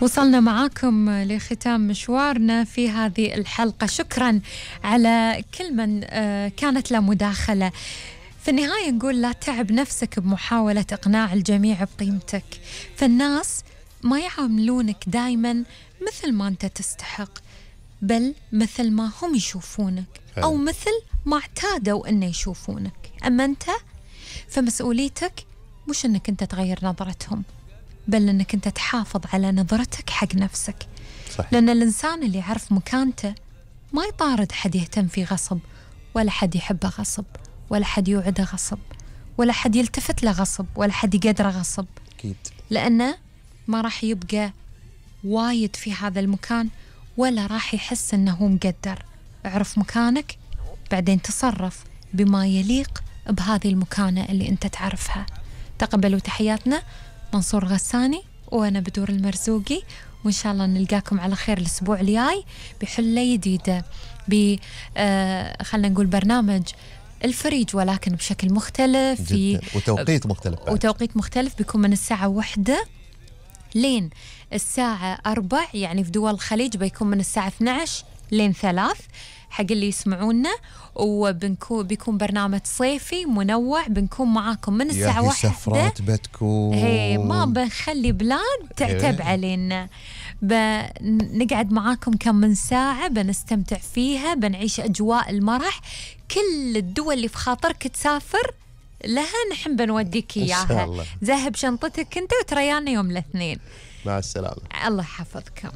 وصلنا معاكم لختام مشوارنا في هذه الحلقة. شكرا على كل من كانت له مداخلة. في النهاية نقول لا تعب نفسك بمحاولة إقناع الجميع بقيمتك، فالناس ما يعاملونك دايما مثل ما أنت تستحق، بل مثل ما هم يشوفونك أو مثل ما اعتادوا أن يشوفونك. أما أنت فمسؤوليتك مش أنك أنت تغير نظرتهم، بل أنك أنت تحافظ على نظرتك حق نفسك. صحيح. لأن الإنسان اللي يعرف مكانته ما يطارد حد يهتم فيه غصب، ولا حد يحبه غصب، ولا حد يوعده غصب، ولا حد يلتفت له غصب، ولا حد يقدره غصب. أكيد. لأنه ما راح يبقى وايد في هذا المكان، ولا راح يحس أنه مقدر. اعرف مكانك، بعدين تصرف بما يليق بهذه المكانة اللي أنت تعرفها. تقبلوا تحياتنا، منصور غساني وأنا بدور المرزوقي، وإن شاء الله نلقاكم على خير الأسبوع الجاي بحلة جديدة، خلنا نقول برنامج الفريج ولكن بشكل مختلف جداً. وتوقيت مختلف وتوقيت مختلف بيكون من الساعة 1 لين الساعة 4، يعني في دول الخليج بيكون من الساعة 12 لين 3 حق اللي يسمعونا. وبيكون برنامج صيفي منوع، بنكون معاكم من الساعة 1. سفرات بتكون ما بنخلي بلاد تعتب علينا، بنقعد معاكم كم من ساعة بنستمتع فيها، بنعيش أجواء المرح. كل الدول اللي في خاطرك تسافر لها نحن بنوديك إياها. ذهب شنطتك أنت وتريانا يوم الاثنين. مع السلامة. الله يحفظكم.